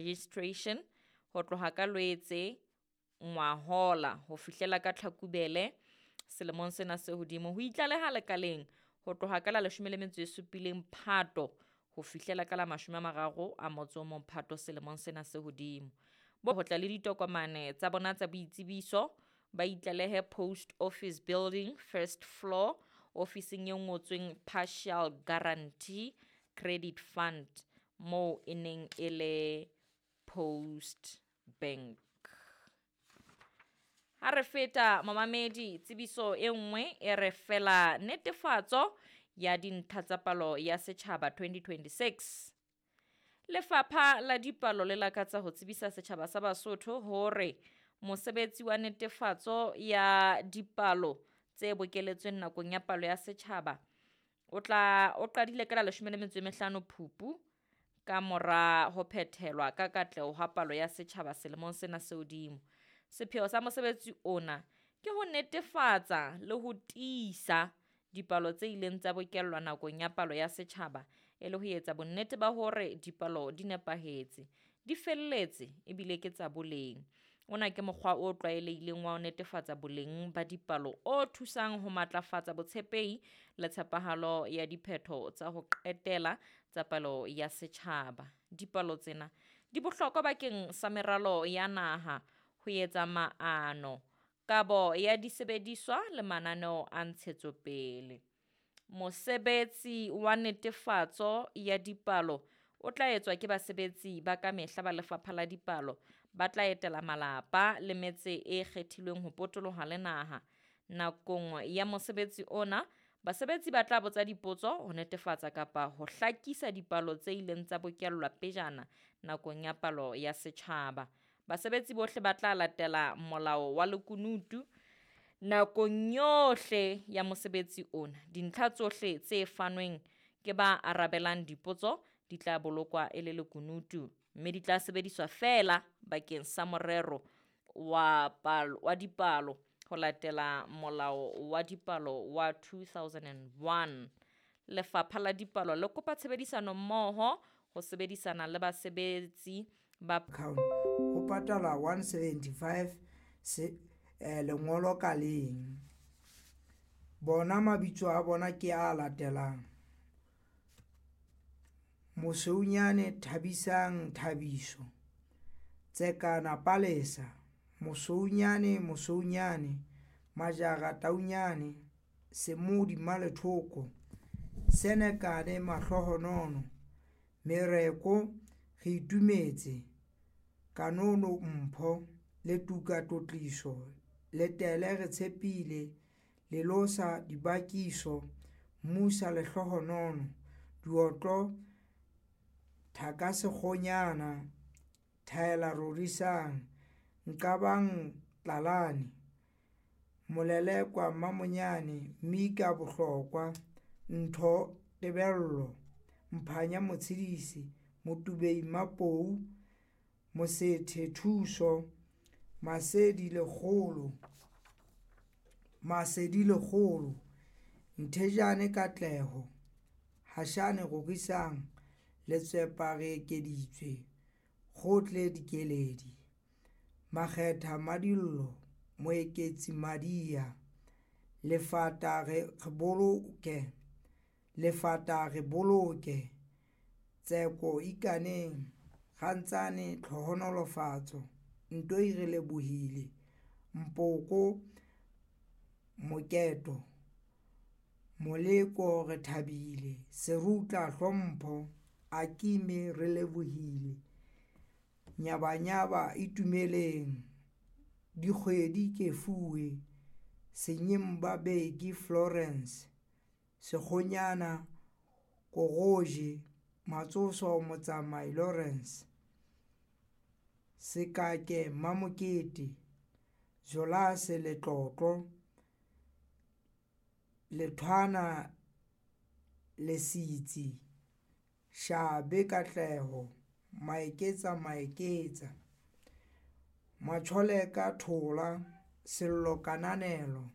Registration ho tloha ka Lwetse ngwahola ho fihlela ka Tlhakubele selemong sena se hodimo. Ho itlaleha lekaleng ho tloha ka la 17 Phato ho fihlela ka la 31 Phato selemong sena se hodimo. Bo ho tla le ditokomane tsa bona tsa boitsebiso, ba itlalehe Post Office Building, first floor, ofising e ngotsweng Partial Guarantee Credit Fund, moo e neng e le Post Bank. Ha re feta momamedi, tsebiso e nngwe e re fela netefatso ya dintlha tsa palo ya setjhaba 2026. Lefapha la Dipalo le lakatsa ho tsebisa setjhaba sa Basotho hore mosebetsi wa netefatso ya dipalo tse bokeletsweng nakong ya palo ya setjhaba o tla o qadile ka la 15 Phupu ka mora ho phethelwa ka katleho ha palo ya setjhaba selemong sena se hodimo. Sepheo sa mosebetsi ona ke ho netefatsa le ho tiisa dipalo tse ileng tsa bokellwa nakong ya palo ya setjhaba e le ho etsa bonnete ba hore dipalo di nepahetse, di felletse ebile ke tsa boleng. Ona ke mokgwa o tlwaelehileng wa ho netefatsa boleng ba dipalo o thusang ho matlafatsa botshepehi le tshepahalo ya diphetho tsa ho qetela tsa palo ya setjhaba. Dipalo tsena di bohlokwa bakeng sa meralo ya naha, ho etsa maano, kabo ya disebediswa le mananeo a ntshetsopele. Mosebetsi wa netefatso ya dipalo o tla etswa ke basebetsi ba kamehla ba Lefapha la Dipalo ba tla etela malapa le metse e kgethilweng ho potoloha le naha. Nakong ya mosebetsi ona, basebetsi ba tla botsa dipotso ho netefatsa kapa ho hlakisa dipalo tse ileng tsa bokellwa pejana nakong ya palo ya setjhaba. Basebetsi bohle ba tla latela molao wa lekunutu nakong yohle ya mosebetsi ona. Dintlha tsohle tse fanweng ke ba arabelang dipotso di tla bolokwa e le lekunutu mme di tla sebediswa feela bakeng sa morero wa palo wa dipalo ho latela Molao wa Dipalo wa 2001. Lefapha la Dipalo le kopa tshebedisano mmoho ho sebedisana le basebetsi ba Account ho patalwa 175 se lengolo ka leng. Bona mabitso a bona ke a latelang. Mosweunyane Thabisang Thabiso, Tsekana Palesa, Mosweunyane Mosweunyane, Majara Taunyane, Semodi Malethoko, Senekane Mahlohonono, Mereko Re itumetse, Kanono Mpho, Letuka Tlotliso, Letele Re Tshepile, Lelosa Dibakiso, Musa Lehlohonono, Diotlo Thakasekgonyana, Thaela Rorisang, Nqabang Tlalane, Molelekwa Mmamonyane, Mika Bohlokwa, Ntho Tebello, Mphanya Motshedisi, Motubei Mapou, Mosethe Thuso, Masedi Lekgolo, Masedi Lekgolo, Nthejane Katleho, Hashane Rorisang, Letswepa Re Ekeditswe, Kgotle Dikeledi, Makgetha Madillo, Moeketsi Madia, Lefata Re Boloke, Lefata Re Boloke, Tseko Ikaneng, Rantsane Tlhohonolofatso, Ntoi Re Lebohile, Mpoko Moketo, Moleko Re Thabile, Serutla Hlompho, Akime Re Lebohile, Nyabanyaba Itumeleng, Dikgwedi Kefuwe, Senyemba Beki Florence, Sekgonyana Koroje, Matsoso Motsamai Lawrence, Sekake Mamokete, Jolase Letlotlo, Lethwana Lesitsi, Shabe Katleho, Maeketsa Maeketsa, Matjholeka Thola, Sello Kananelo.